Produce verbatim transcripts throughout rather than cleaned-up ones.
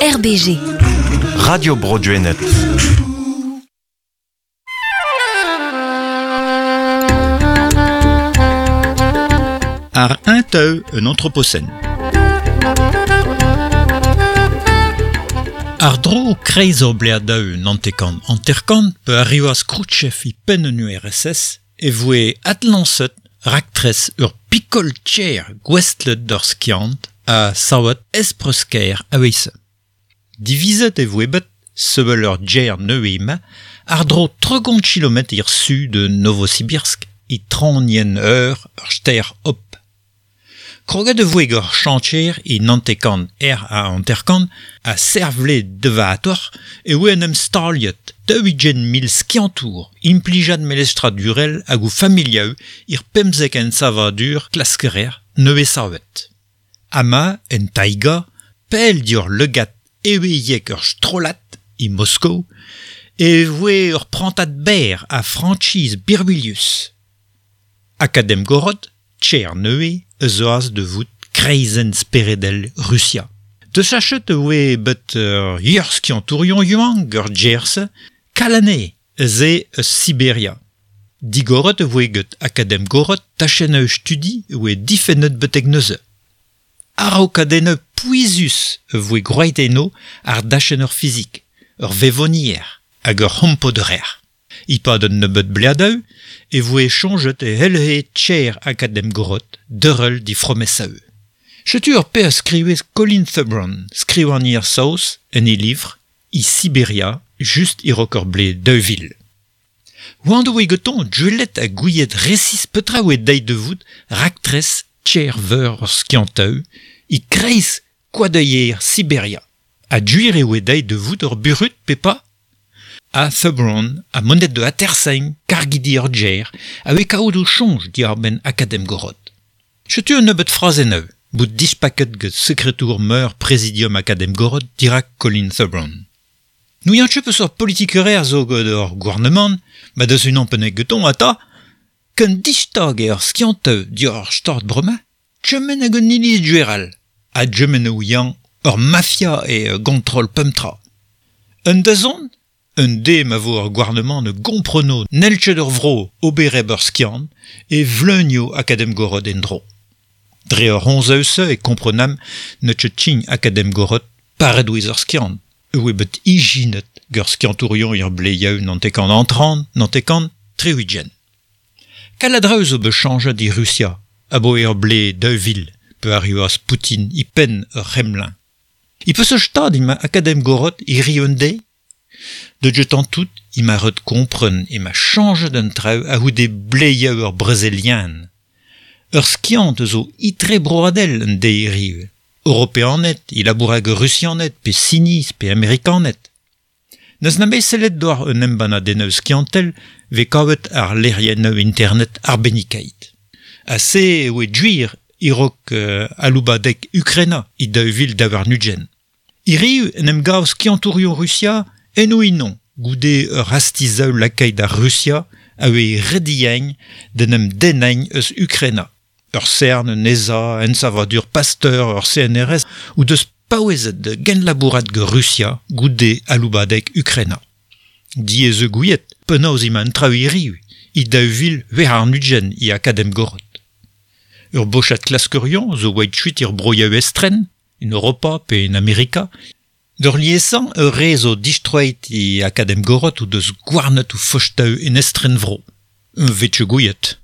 R B G. Radio Bro Gwened. Ar un teu un anthropocène. Ar dro kreiz ur bleadaou nantekant hanterkant pe arrivas Khrouchtchev i penn un U R S S e voe adlañset raktres ur pikol tcher gouestlet d'ur skiant a savet espreusker a-weizh. Divizet e voe bet sevel ur djer neuema ar dro tregont kilometr ir su de Novosibirsk i traoñienn ur ur stêr Ob. Kroget e voe gant chantier e nantekant er a hanterkant a servle devator e oe en em staliet daou-ugent mil skiantour implijad melestradurel hag o familiaou ir pemzek en savadur klaskerer nevez savet. Ama, en taiga, pell dior legat eweiek ur strolat e Moskou e voe ur prantad berr a franchise birwilius. Akademgorod, tcher neue, eus oaz de vout kreizenn speredel Russia. De sachet oe bet ur ur skiantourion yuang ur djerse, kalane eus e eus Siberia. Digoret oe get Akademgorod tachenn eus studi oe difennet betek neuze. Araokadenneu pouezus e voe groeit eno ar dachenn ur fizik, ur vevonier hag ur c'hompoderer. E-pad un nebeud bleadaou e voe soñjet e helhe tcher Akademgorod deurel di fromesaou. Setu ur pe a skrivez Colin Thubron, skrivagner saoz en e livr i Siberia, just e-raok ur blez daou vil. Oant oe gantañ deuet ha gouiet resis petra oe deiz de vout raktres tcher veur ur skiantaou e kreiz koadeier Siberia. Ha duir e oe deiz de vout ur burut pe pa? A Thubron a monet de atersain kargidi ur djer a oe kaout o soñj diàr-benn Akademgorod. Setu un nebeud frazennoù, bout dispaket get sekretour meur Presidium Akademgorod dirak Colin Thubron. N'ouian ket peus ur politikerer zo get ur gouarnamant, ma deus unan pennek geton ata, ken distag eo ur skianteù diàr ur stad bremañ, tremen hag un iliz dueral, ha tremen ouian ur mafia e gontrol pemp tra. Un dazont, un de ma vo ur gouarnamant ne gompreno n'hell ket ur vro obereb ur skiant e vleunio Akademgorod en-dro. Dre ur c'honz-eus e komprenam ne ket tchign Akademgorod paret ouez ur skiant, oe bet ijinet gant skiantourion ur bleiaou nantekant antran, nantekant tri-ugent. Kaladra eus zo bet chañjet e Rusia, aboe ur blez daou vil, pe arrivas Poutine i penn ur C'hremlin. I peus ur stad ema Akademgorod i ri un deiz? De jetan tout, i ma ret kompren e ma chañjet un traoù a-c'houde bleiaou ur brezelian. Ur skiant zo itre broadel un deiz riv. Europeaned, i labourag rusianed, pe siniz, pe amerikaned. N'eus na bet sellet d'oar un embannadennoù skiantel ve kavet ar lec'hiennoù internet arbennikait. Ha se oe duir e-raok euh, aloubadeg Ukraina i daou vil daou warn-ugent. Hiriv en em gav skiantourion Rusia eno inon, goude ur hastizaou lakaet ar Rusia a oe rediañ d'en em dennañ eus Ukraina. Ur CERN, un E S A, un savadur Pasteur, ur C N R S ou deus paouezet de genlabourat gant Rusia goude aloubadeg Ukraina. Diaes eo gouiet, penaos emañ an traoù hiriv, i daou vil c'hwec'h warn-ugent i Akademgorod. Ur bochad klaskerion zo oeit kuit ir broioù estren, en Europa pe en Amerika. D'ur liesañ ur re zo distroet i Akademgorod ou deus gouarnet ou fostaou en estren vro. Un vetch gouiet.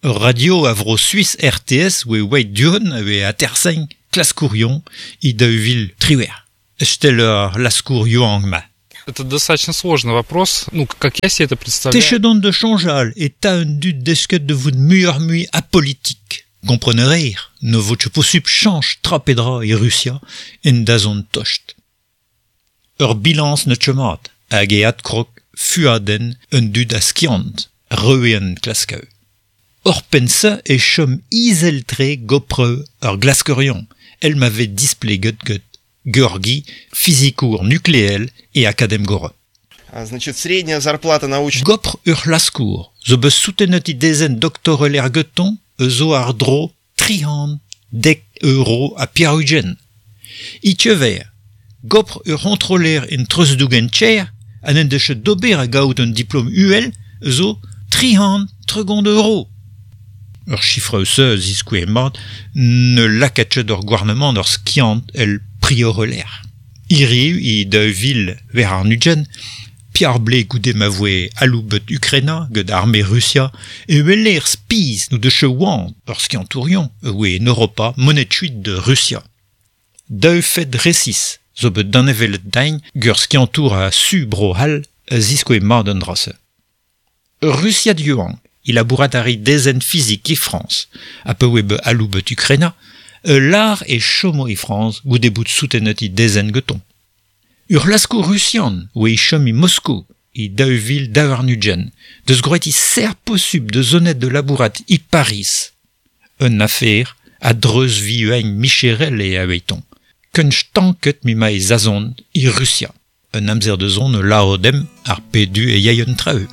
Ur radio a vro Suisse R T S oe oeit duhon a oe atersañ klaskourion i daou vil triwec'h. Estel ur laskour yuang ma. Это достаточно сложный вопрос. Ну, как я себе это представляю. Techedon de chañjal e ta un dud desket de vout muioc'h mui apolitik. Komprenerer, ne vo ket posupl chañch tra pe dra e Rusia en dazont tost. Ur bilañs ne ket mat, hag e adkrog fuadenn un dud a skiant, reuen klaskaou. Ur penn-se e chom izel-tre gopreu ur glaskerion, el m'avait displeget get Georgi, fizikour nukleel e Akademgorod. А, значит, средняя зарплата науч- Gopr ur c'hlaskour, zo bet soutenet i dezenn doktorel er geton, eus zo ar dro tri c'hant dek euro ha pevar-ugent. I teuver, Gopr ur c'hontroller en treuzdougen tcher an en deus d'ober a gaout un diplom U L zo tri c'hant tregont euro. Ur chifre eus a ziskouez mat ne lakaat ket ur gouarnamant ur skiant el prioreler. Hiriv e daou vil war ar ugent, Piar ble goude ma voe aloubet Ukraina gant arme Russia e weler spiz nou deus oant ur skiantourion e oe en Europa monet kuit de Russia. Daou fed resis zo bet danevellet dain gur skiantour a su bro hall a ziskoe mat an dra-se. Russiad yuan, il labourat a ri dezen fizik e Frans, a pe oe be aloubet Ukraina, e lar e chomo e Frans goude bout soutenet i dezen geton. Ur lasko russian oe i chom i Moskou, i daou vil daou ar ugent, deus groet i ser posub de zonet de labourat i Paris. Un affaire a dreuz vi uain micherel e a weiton. Keun stanket mi ma e zazon i Russia. Un amzer de zon laodem ar pedu e yaïon traeu.